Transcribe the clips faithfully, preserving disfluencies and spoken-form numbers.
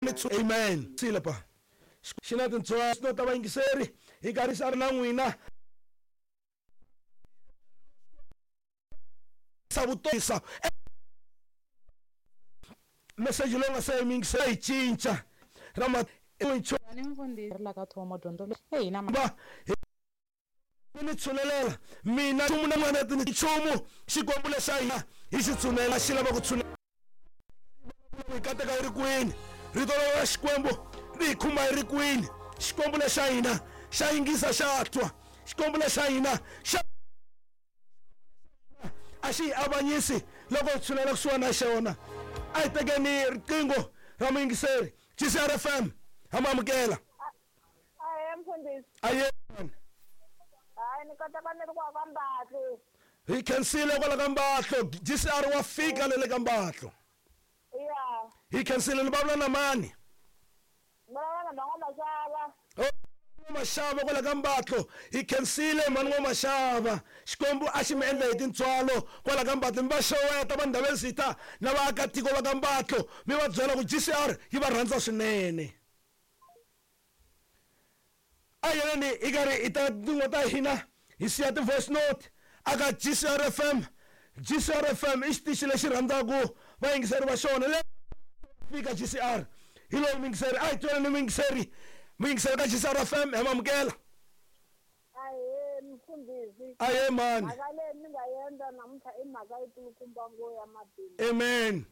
Amen. Silapa. Xi na tintswalo ta vayingiseri hi karhi xa ri na n'wina. Sa vutosa. Message lowu nga se yingisela yi cinca. Rama ni mfundhisi ri la ka thomo dyondzo leyi hina ba ni tshunelela mina nchumu na n'wana ti nchumu xikwembu lexa hina hi xi tshunela xi lava ku tshunela hi kateka yi ri kwini rito ra xikwembu ri hi khumba yi ri kwini xikwembu lexa hina xa yingisa xa twa xikwembu lexa hina xa a xi hi avanyisi loko hi tshunela kusuhani na xona. A hi tekeni riqingho ra muyingiseri G C R F M ha mu amukela. Ahee mfundhisi. Aye. Hayi ni kota ka ni ri kwa ka Mbatlo. Hi khensile kwala ka Mbatlo. G C R wa fika le le ka Mbatlo. Ya. Hi khensile ni vulavula na mani? Vulavula na Mhani Mashava. Oh, Mashava kwala ka Mbatlo. Hi khensile Mhani Mashava. Xikwembu a xi mi endla hi tintswalo kwala ka Mbatlo. Mi va xeweta vanhu lava sita na vaakatiko va ka Mbatlo. Mi va byela ku G C R yi va rhandza swinene. A yeleni hi karhi hi ta tin'we ta hina hi siya ti-voice note aka G C R F M. G C R F M i xitichi lexi rhandzaka vayingiseri va xona. Le fika G C R hi loyi muyingiseri a hi tweleni muyingiseri muyingiseri ka G C R F M hi mamukela. Ahee mfundhisi. Ahee mani. Mhaka leyi ni nga endla namuntlha i mhaka yi kulukumba ngo ya matimu. Amen.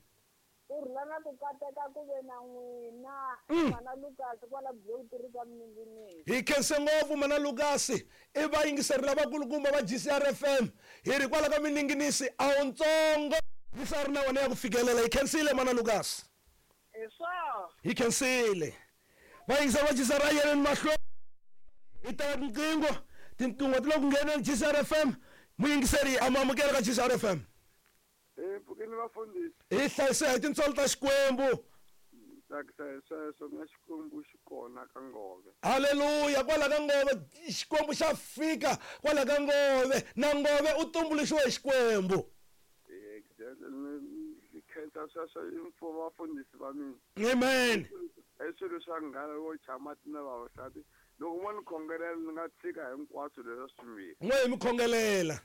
Ku rhula na ku kateka ku ve na n'wina mana Lucas kwala Bloemfontein ka Minginisi. Hi khense ngopfu mana Lucas i vayingiseri lavakulukumba va G C R F M hi ri kwala ka Mininginisi a wu ntsongo G C R na wena ya ku fikelela. Hi khensile mana Lucas. Hi swona. Hi khensile vayingiseri va G C R a yeleni mahlweni hi teka tinqingho tinqingho ti le ku ngheneni G C R F M muyingiseri a mu amukela ka G C R F M. Hi pfukile vafundhisi. Hi hlayise hi tintswalo ta Xikwembu. Tsakisa hi sweswo na Xikwembu xi kona ka Ngove. Haleluya, kwala ka Ngove Xikwembu xa fika kwala ka Ngove na Ngove u tumbuluxiwe hi Xikwembu. Exactly. Ni khensa sweswo i vafundhisi va mina. Amen. I swilo swa nghala wo chama na vavasati. Loko mo ni khongelela ni nga tshika hinkwaswo leswi swimbirhi. N'we hi mi khongelela.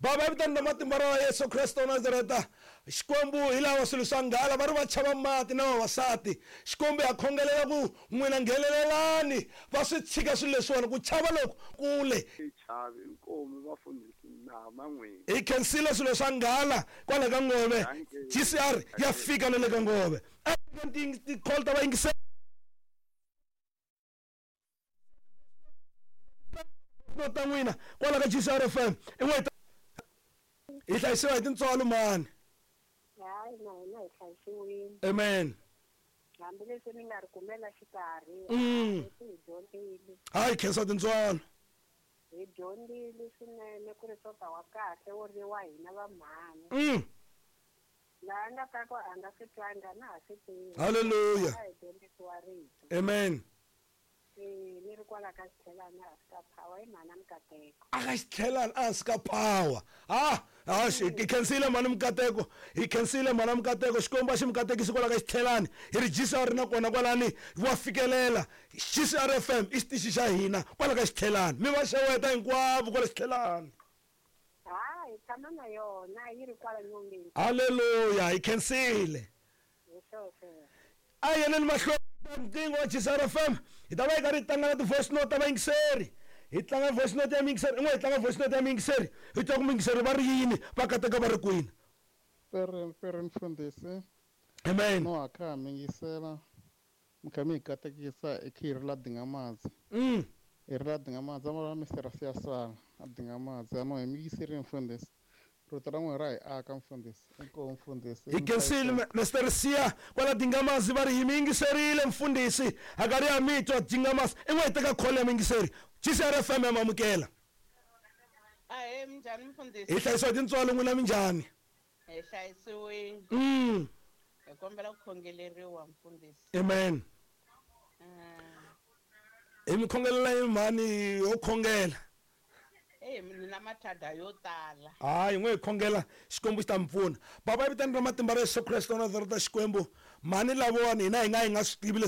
Baba vitani na matimba ra Yesu Kristo wa Nazareta. Xikwembu hi lava swilo swa nghala va ri va chava mati na vavasati. Xikwembu ha khongelela ku n'wina nghenelelani va swi tshika swilo leswiwani ku chava loko kule. Hi chavi inkomu vafundhisi na man'wini. Hi khensile swilo swa nghala kwala ka Ngove. G C R ya fika na le ka Ngove. A ti-call ta vayingiseri ta n'wina kwala ka G C R F M i n'we hi hlayisiwa hi tintswalo mani. Hayi na hina hi hlayisiwile. Amen. Hambileswi ni nga ri kumela xikarhi hi dyondzile. Hayi khensa tintswalo. Hi dyondzile swinene ku ri tota wa kahle wo ri wa hina va mhani. Laha nga ta ku a nga swi twanga na ha swi tivi. Haleluya. Hi dyondzisiwa rito. Amen. Ni ri kwala ka Xitlhelani a swi ka power i mhana Mukateko. A ka Xitlhelani a swi ka power. Ah, ah hi khensile mhani Mukateko. Hi khensile mhana Mukateko. Xikwembu a xi mi katekisi kwala ka Xitlhelani. Hi ri G C R na kona kwalani wa fikelela. G C R F M i xitichi xa hina kwala ka Xitlhelani. Mi va xeweta hinkwavo kwala Xitlhelani. Ha, hi tshama na yona yi ri kwala nyongeni. Haleluya, hi khensile. Hi sweswo. A yeleni mahlweni nqingho wa G C R F M hi ta va hi karhi hi tlanga na ti-voice note ta vayingiseri. Hi tlanga voice note ya muyingiseri in'we hi tlanga voice note ya muyingiseri hi twa ku muyingiseri va ri yini va kateka va ri kwini. Pere pere mfundhisi. Amen. No a kha mi yingisela mi kha mi hi katekisa i khiri la Dingamazi. Mm. I ri la Dingamazi a Mister Siyasala a Dingamazi a no hi mi yingiserile mfundhisi. Rito ra n'wina ra hi aka mfundhisi. Inkomu mfundhisi. Hi khensile Mister Siya kwala Dingamazi va ri hi mi yingiserile mfundhisi. A karhi ya mi twa Dingamazi i n'we hi teka call ya muyingiseri. G C R F M ya mamukela. Ahee minjhani mfundhisi? Hi hlayisiwa tintswalo n'wina minjhani? Hi hlayisiwile. Mm. Hi kombela ku khongeleriwa mfundhisi. Amen. Hi mi khongelela hi mhani yo khongela. Eh mina na mathada yo tala. Hayi, n'we hi khongela, Xikwembu xi ta mi pfuna. Baba, evitani ra matimba ra Yesu Kreste wa Nazareta, Xikwembu, mhani lavawani hina hi nga hi nga swi tivi leswi.